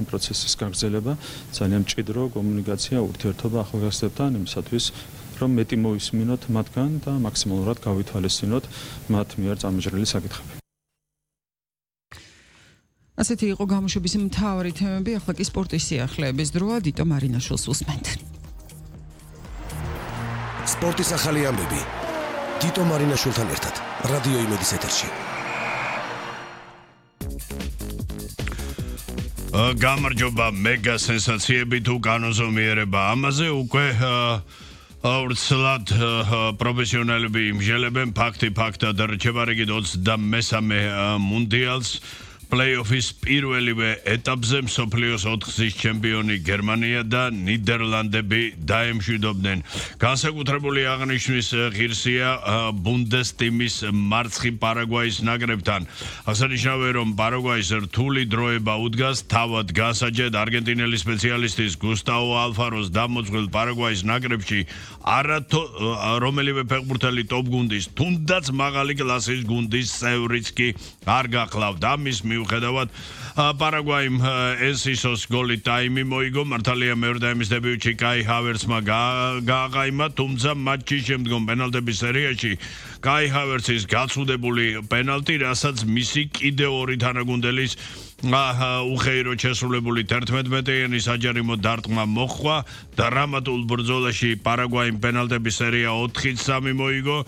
ამ პროცესის გაგრძელება, ძალიან მჭიდრო კომუნიკაცია, ურთიერთობა ახალგაზრდებთან იმისათვის, რომ მეტი მოისმინოთ მათგან და მაქსიმალურად გავითვალისწინოთ მათ მიერ წამოჭრილი საკითხები. ასეთი იყო გამოშვების მთავარი თემები, ახლა კი სპორტის სიახლეების დროა, დიტო მარინაშვილს უსმენთ. სპორტის ახალი ამბები. დიტო მარინაშვილთან ერთად, რადიო იმედის ეთერში. გამარჯობა, მეგა სენსაციები თუ განოზომიერება. ამაზე უკვე ვრცლად პროფესიონალები იმჟელებენ ფაქტად რჩება რიგით 23-მე მუნდიალს. Play-offის პირველივე ეტაპზე მსოფლიოს 4-გზის ჩემპიონი გერმანია და ნიდერლანდები დაემშვიდობდნენ. განსაკუთრებული აღნიშვნის ღირსია ბუნდესტიმის მარცხი პარაგვაის ნაკრებთან. აღსანიშნავია, რომ პარაგვაის რთული დროება უდგას თავად გასაჯედ არგენტინელი სპეციალისტის გუსტავო ალფაროს დამოწმილ პარაგვაის ნაკრებში რომელიმე ფეხბურთელი ტოპ გუნდის, თუნდაც მაღალი კლასის გუნდის წევრიც კი არ გახლავთ. ამის მიუხედავად პარაგვაიმ ესისოს გოლი ტაიმი მოიგო, მართალია მეორე ტაიმის დებიუტში კაი ჰავერცმა გააყაიმა, თუმცა მატჩის შემდგომ პენალტების სერიაში კაი ჰავერცის გაცუდებული პენალტი, რასაც მისი კიდევ ორი თანაგუნდელის უხეირო შესრულებული 11-მეტრიანი საჯარიმო დარტყმა მოჰყვა. დრამატულ ბრძოლაში პარაგვაიმ პენალტების სერია 4-3 მოიგო.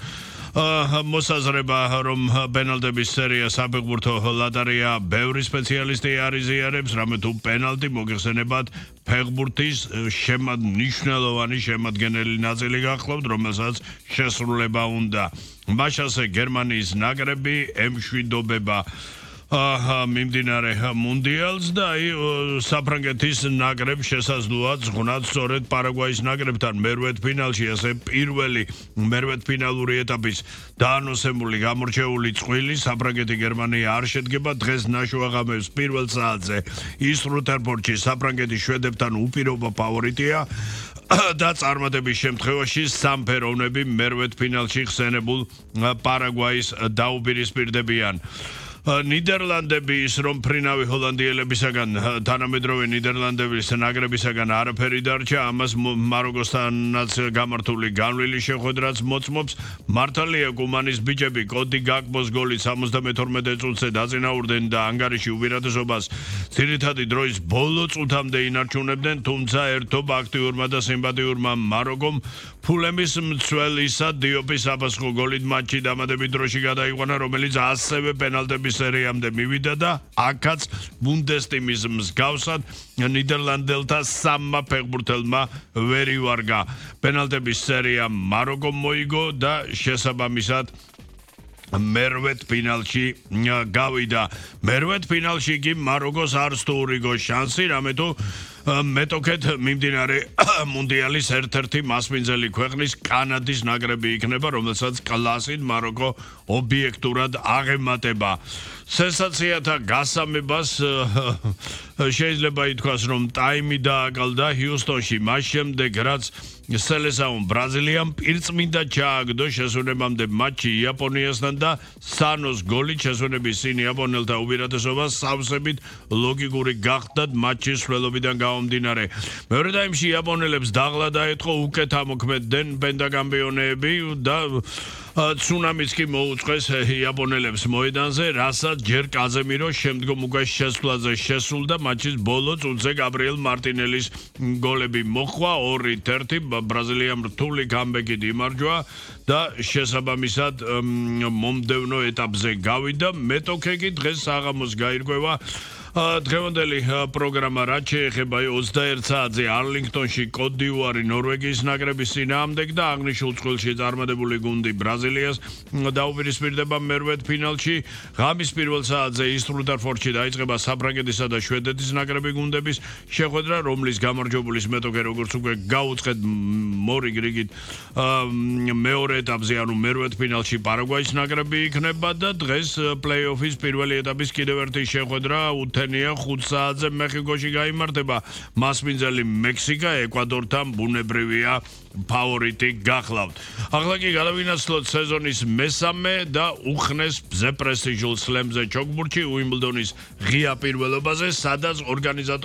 მოსაზრება, რომ პენალტების სერია საფეხბურთო ლოტარია ბევრი სპეციალისტი არ იზიარებს, რამე თუ პენალტი მოგეხსენებათ ფეხბურთის მნიშვნელოვანი შემადგენელი ნაწილი გახლავთ, რომელსაც შესრულება უნდა. მაშასე გერმანიის ნაკრები ემშვიდობება მიმდინარე მუნდიალს და საფრანგეთის ნაკრებს შესაძლოა ზღვნათ სწორედ პარაგვაის ნაკრებთან მერვედფინალში, ასე პირველი მერვედფინალური ეტაპის დაანონსებული გამორჩეული წყვილი საფრანგეთი გერმანია არ შედგება. დღეს ნაშუაღამებს პირველ საათზე ის რუთერფორდში საფრანგეთის შვედებთან უპირობო ფავორიტია და წარმატების შემთხვევაში სამფეროვნები მერვედფინალში ხსენებულ პარაგვაის დაუპირისპირდებიან. ნიდერლანდები ის რომ ფრინავი ჰოლანდიელებისაგან თანამედროვე ნიდერლანდების ნაკრებისაგან არაფერი დარჩა, ამას მაროკოსთანაც გამართული განვლილი შეხვედრაც მოწმობს. მართალია კუმანის ბიჭები კოდი გაკბოს გოლით 72 წუთზე დაწინაურდნენ და ანგარიში უპირატესობას ძირითადი დროის ბოლო წუთამდე ინარჩუნებდნენ, თუმცა ერთობ აქტიურმა და სიმპათიურმა მაროკომ ფულემის მცველისა დიოპის აბასხო გოლით მატჩი დამატებით დროში გადაიყვანა, რომელიც ასევე პენალტების სერიამდე მივიდა და აქაც ბუნდესტიმის მსგავსად ნიდერლანდელთა სამმა ფეხბურთელმა ვერ ივარგა. პენალტების სერია მაროკომ მოიგო და შესაბამისად მერვედფინალში გავიდა. მერვედფინალში კი მაროკოს არც თუ ურიგო შანსი, რამე თუ მეტოქეთ მიმდინარე მუნდიალის ერთ-ერთი მასპინძელი ქვეყნის კანადის ნაკრები იქნება, რომელსაც კლასით მაროკო ობიექტურად აღემატება. სენსაციათა გასამებას შეიძლება ითქვას, რომ ტაიმი დააკალდა ჰიუსტონში, მას შემდეგ რაც სელესაუნ ბრაზილიამ პირწმინდა ჩააგდო შესვენებამდე მატჩი იაპონიასთან და სანოს გოლით შესვენების წინ იაპონელთა უპირატესობას სავსებით ლოგიკური გახდათ მატჩის სრულობიდან გამომდინარე. მეორე ტაიმში იაპონელებს დაღლა დაეთხო, უკეთ ამოქმედდნენ პენტაკამპიონეები და ცუნამიც კი მოუწყეს იაპონელებს მოედანზე, რასაც ჯერ კაზემირო, შემდგომ უკვე შესვლაზე შესულდა მატჩის ბოლო წუთზე გაბრიელ მარტინელის გოლები მოჰყვა 2-1 ბრაზილიამ რთული გამბეკით იმარჯვა და შესაბამისად მომდევნო ეტაპზე გავიდა. მეტოქე კი დღეს საღამოს გაირკვევა. დღევანდელი პროგრამა რაც შეეხება 21 საათზე არლინგტონში კოტ-დივუარი ნორვეგიის ნაკრების წინააღმდეგ და აღნიშნულ წყვილში წარმატებული გუნდი ბრაზილიას დაუპირისპირდება მერვედფინალში. ღამის პირველ საათზე ის რუთერფორდში დაიწყება საფრანგეთისა და შვედეთის ნაკრები გუნდების შეხვედრა, რომლის გამარჯვებულის მეტოქე როგორც უკვე გაუწყვეთ მორიგ რიგით მეორე ეტაპზე, ანუ მერვედფინალში პარაგვაის ნაკრები იქნება და დღეს პლეი-ოფის პირველი ეტაპის კიდევ ერთი შეხვედრა 5 საათზე მეხიკოში გაიმართება. მასპინძელი მექსიკა ეკვადორთან ბუნებრივია ფავორიტი გახლავთ. ახლა კი გადავინაცვლოთ სეზონის მესამე და უხნეს მზე პრესტიჟულ სლემზე ჩოგბურთში უიმბლდონის ღია პირველობაზე, სადაც ორგანიზატორები